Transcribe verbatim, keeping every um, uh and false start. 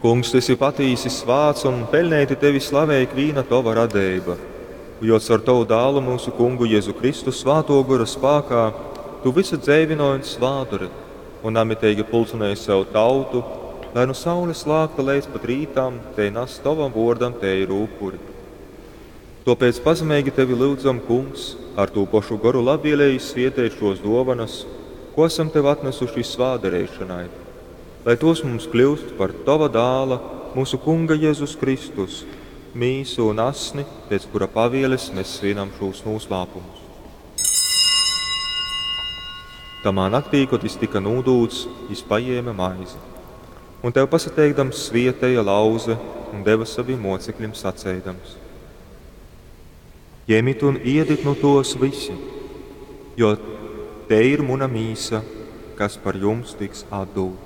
Kungs, tu esi patīsi svāts un peļneiti tevi slavej ikvīna tova radeiba, jo caur tovu dālu mūsu kungu Jēzu Kristu svātō gora spākā tu vysu dzeivynoj un svādori un namiteigi pulcynoj sev tautu, lai nu saules lākta leidz pat rītam tei nas tovam vōrdam teiru upuri. Tōpēc pazemeigi tevi lyudzam, Kungs, ar tū pošu goru labvieleigi svieteit šos dōvanas, ko esam tev atnesuši svātdareišonai, lai tos mums kļūst par tova dāla, mūsu Kunga Jēzus Kristus, mīsu un asni, pēc kura pavieles mēs svinam šūs noslēpumus. Tamā naktī, kad jis tika nūdūts, jis paņēma maizi. Un tev pasateikdams svietēja lauze un deva saviem mocekļiem saceidams: Ņemit un iedit nu tos visi, jo te ir muna mīsa, kas par jums tiks atdūta.